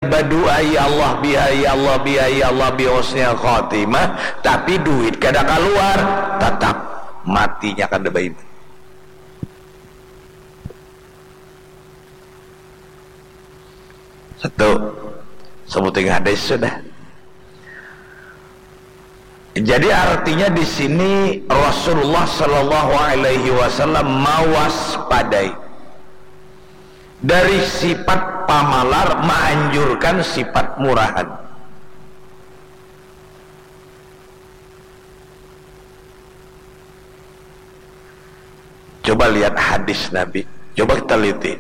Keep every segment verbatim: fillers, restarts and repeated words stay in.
badua, ya Allah biha, ya Allah biha, ya Allah bi husnil khatimah, tapi duit kada kaluar, tatap matinya kada baiman. Satu, sebuting hadis sudah. Jadi artinya di sini Rasulullah Shallallahu Alaihi Wasallam mawaspadai dari sifat pamalar, menganjurkan sifat murahan. Coba lihat hadis Nabi, coba kita teliti.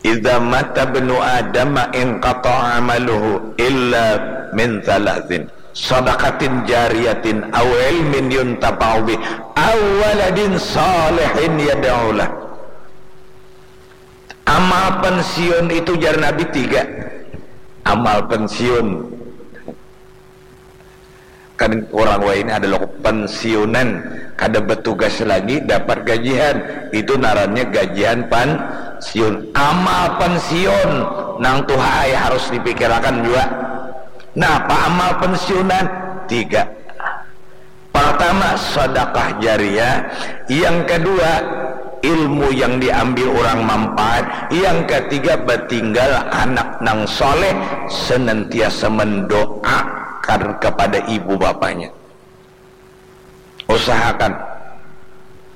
Idza mata ibnu Adam inqata'a amaluhu illa min thalathin, sadaqatin jariyatin aw ilmin yuntafa'u bih aw waladin salihin yad'u lah. Amal pensiun itu, jar Nabi, tiga. Amal pensiun. Kan orang wahini ada lo pensiunan, kada bertugas lagi, dapat gajian. Itu narannya gajian pensiun. Amal pensiun nang tuha ai harus dipikirakan juga. Napa amal pensiunan? Tiga. Pertama, sedekah jariah. Yang kedua, ilmu yang diambil orang manfaat. Yang ketiga, batinggal anak nang soleh, senantiasa mendoakan kepada ibu bapanya. Usahakan,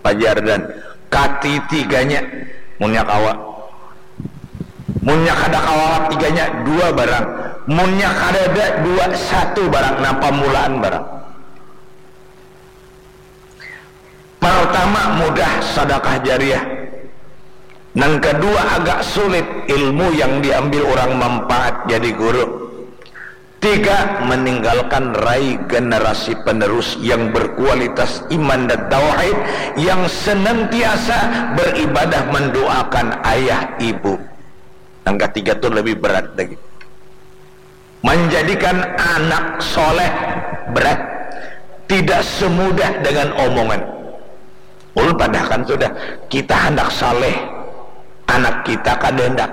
pajardan, katitiganya, munnya kawa. Munnya kada kawa tiganya, dua barang. Munnya kadada, dua, satu barang. Nah, pamulaan barang. Pertama, mudah, sedekah jariah. Nang kedua, agak sulit, ilmu yang diambil orang manfaat, jadi guru. Tiga, meninggalkan rai generasi penerus yang berkualitas iman dan tauhid, yang senantiasa beribadah, mendoakan ayah ibu. Yang ketiga tu lebih berat lagi. Menjadikan anak soleh berat. Tidak semudah dengan omongan. Ulun padahkan sudah, kita handak saleh, anak kita kada handak.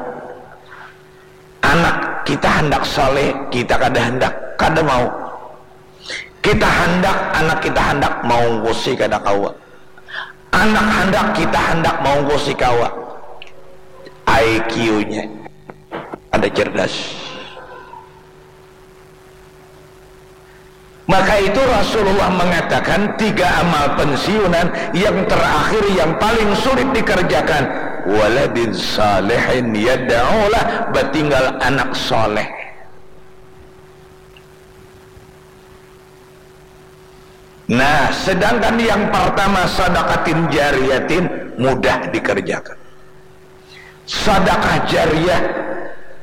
Anak kita handak saleh, kita kada handak, kada mau. Kita handak, anak kita handak, maungkusi kada kawa. Anak handak, kita handak, maungkusi kawa. I Q-nya ada cerdas. Maka itu Rasulullah mengatakan tiga amal pensiunan yang terakhir yang paling sulit dikerjakan. Waladin salihin yad'ulah, batinggal anak soleh. Nah, sedangkan yang pertama sadakatin jariyatin mudah dikerjakan. Sadakah jariah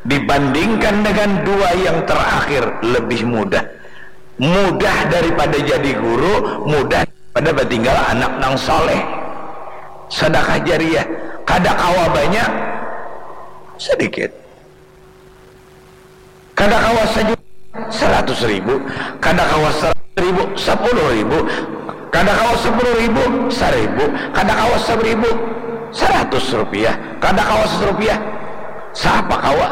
dibandingkan dengan dua yang terakhir lebih mudah. Mudah daripada jadi guru, mudah daripada batinggal anak nang soleh. Sadakah jariah kada kawa banyak, sedikit. Kada kawa sajuta, saratus ribu. Kada kawa saratus ribu, sapuluh ribu. Kada kawa sapuluh ribu, saribu. Kada kawa saribu, saratus rupiah. Kada kawa saratus rupiah, sapa kawa?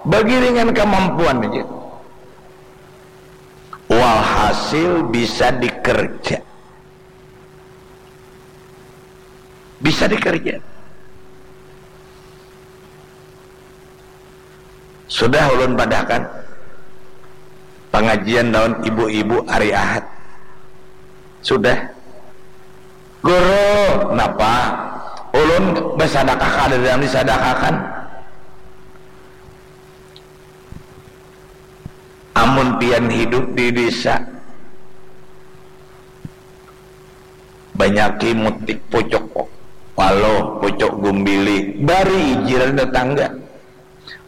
Bagiringan kamampuan aja. Walhasil bisa dikerja. Bisa dikerja. Sudah ulun padahkan pangajian lawan ibu-ibu hari Ahad. Sudah. Guru, napa? Ulun basadakah kada nang disadakakan. Amun pian hidup di desa, banyaki mutik pucuk waluh, pucuk gumbili, bari jiran tetangga.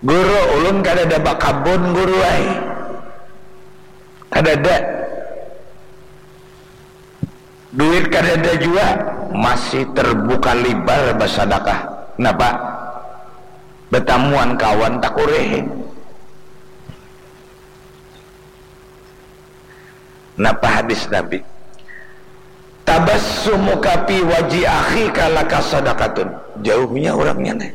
Guru, ulun kadada bakabun, Guru ai. Kadada. Duit kadada jua, masih terbuka libar basadakah. Napa? Batamuan kawan takurih. Napa hadis Nabi? Tabassumuka fi wajhi akhika laka sadaqatun. Jauhnya orangnya nih.